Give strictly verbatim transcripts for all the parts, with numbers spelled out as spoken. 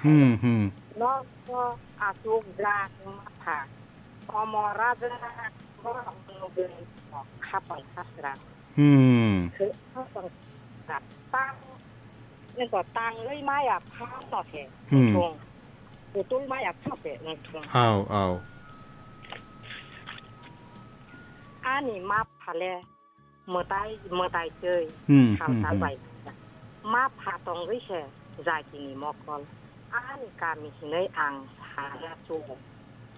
Hmm, hmm. Nok to asuk jak matha. Komo raja borok nugwi khapang khasra. Hmm. Khapang khasra. Tang, niko tangwi maya phano se. Hmm. Thung. Putul maya phano se, thung. Au, au. Ani ma phale mwtai, mwtai twi Hmm, hmm, salsa hmm. bai. Ma pha tongwi se jatini mokol. Ani kami hinwi ang sana chugo.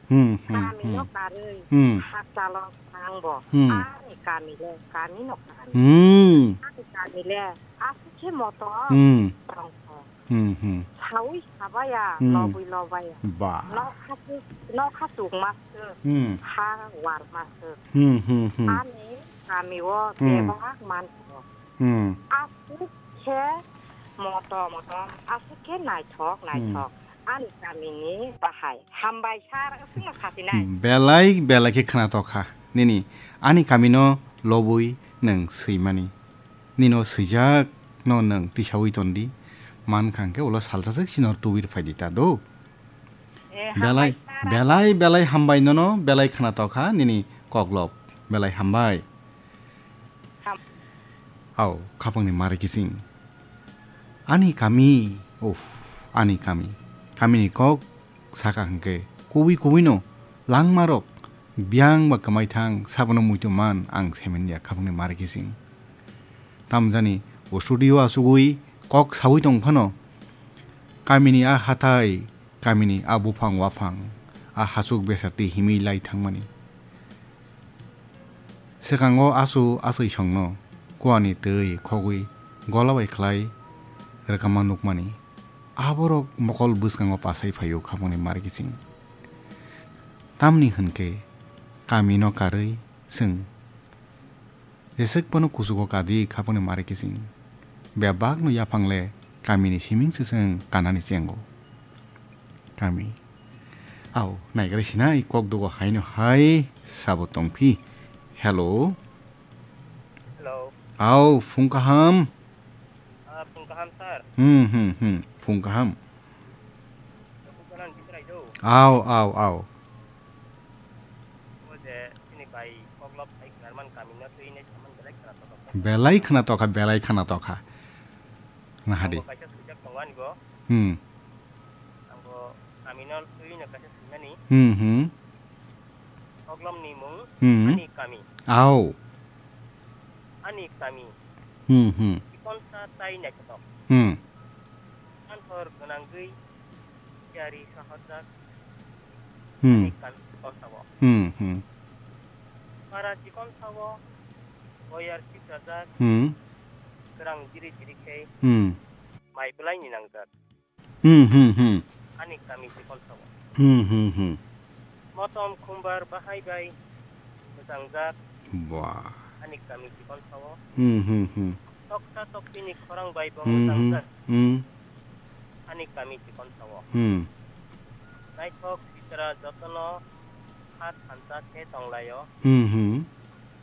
Hmm, hmm, Kami no hmm. karwi Hmm. hakchalo tangbo. Hmm. Ani kami le kami no kami. Hmm. Ani kami le asukhe moto Hmm. tongkho. Hmm, hmm. Sawi sabaya, Hmm. lobwi lobaya. Ba. Nokha chuk, nokha chuk masuk, Hmm. ha war masuk. Hmm, hmm, hmm. Ani kami o Hmm. bebak manto. Hmm. Asuk khe moto moto, asuk khe naithok naithok. Hmm. Ani kami ni bahai. Hambai sir, aswkno sasinai. Hmm, belai, belai khe khna tokha. Nini, ani kami no lobwi nwng swimani. Nino swijak no nwng tisawi tondi. Man khang khe ulo salsa swk sinor tuwir phaidi ta do. Eh, Belai, hambai sir. belai, belai hambai nono, belai khna tokha nini koklop. Belai hambai. Ham- Au, khapangni mari kising. Ani kami, uff, ani kami. Kamini kok saka hwnkhe kubui kubui no langmarok biyang ba kwmaithang sabono muitu man ang semen ya khapangni mari kising. Tamjani o studio asugwi kok sawi tong phano kamini a hathai, kamini a buphang waphang, a hasuk besar twi himwi lai thangmani. Swkango asu aswi songno kuani twi khogwi gola bai khlai rwkama nukmani. Aborok mokol bwskango pasai phaio khapangni mari kising. Tamni hwnkhe kamino karwi chwng jeswk phano kuchugo kadi khapangni mari kising. Bebakno yaphangle kamini siming se chwng kanani chengo. Kami. Au, naigra sinai kok dugo haino hai sabo tongphi. Hello. Hello. Au, phung kaham. Ah, phung kaham, sir. Hmm, hmm, hmm. Phung kaham. Phung kaham, Bisrai do. Au, au, au. O je, sini bai koklop hai khnar man kami no twi ne saman belai khna tokha. Belai khna tokha, belai khna tokha. Nahadi. Ang bo kaisa swijak tongo ani bo. Hmm. Ang bo kami no twi no kaisa swimani. Hmm, hmm. Koklom ni mung Hmm. Ani kami. Au. Ani kami. Hmm, hmm. Chikonsa tai naithotok. Hmm. Santhor gwnangwi tiyari sahorjak Hmm. Ani kami chikonsa o. Hmm, hmm. Para chikonsa o boyar sikrajak Hmm. kwrang jiri jiri khe Hmm. mai belai ni nangjak. Hmm, hmm, hmm. Ani kami chikonsa o. Hmm, hmm, hmm. Motom khumbar bahai bai mwchangjak. Ba. Ani kami chikonsa o. Hmm, hmm, hmm. Toksa toksini khorang bai bo Hmm, hmm, mwchangjak. Hmm. Ani kami chikonsa o. Hmm. Naithok sitra jotono ha thansa khe tonglaio. Hmm, hmm.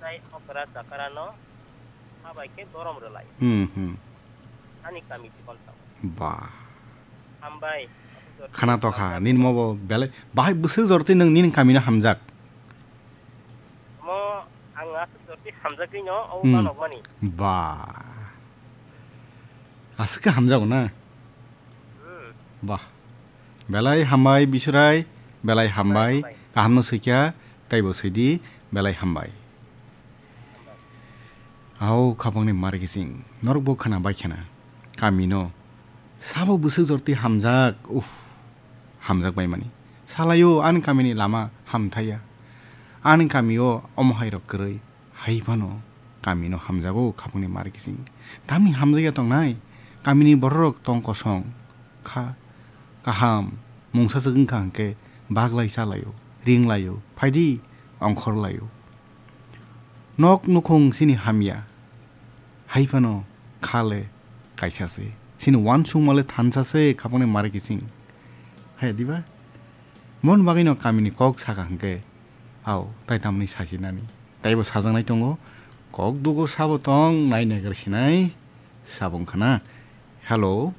Tai okra chakarano ha bai khe borom rwlai. Hmm, hmm. Ani kami chikonsa o. Ba. Hambai. Khana tokha, nini mo bo belai, bahai bwswk jor twi nwng nini kamino hamjak. Mo ang aswk jor twi hamjagwi no, o Hmm. banokmani. Ba. Aswk khe hamjago na? Hmm. Ba. Belai hambai Bisrai, belai hambai. Belai hambai. Kaham no swikha, taibo swidi, belai hambai. Hao khapangni mari kising, norok bo khwna bai khwna. Kamino sabo bwswk jorti hamjak, uff, hamjak bai mani. Salaio ani kamini lama hamthaiya. Ani kamio omo hai rok kwrwi, hai phano kamino hamjago khapangni mari kising. Tamni hamjakya tongnai, kamini bororok tong kosong, kha kaham, mungsa swk wngkha hwnkhe baglai chalaio, ringlaio, phaidi ongkhorlaio. Nok nukhung chini hamya, hai phano kha le kaisa se. Chini uansukma le thansa se khapangni mari kising. Hai diba? Mon bagwino kamini kok saka hwnkhe, ao, tai tamni sajinani. Taibo sajaknai tongo, kok dugo sabo tong, nai naigra sinai, sabo wngkha na. Hello.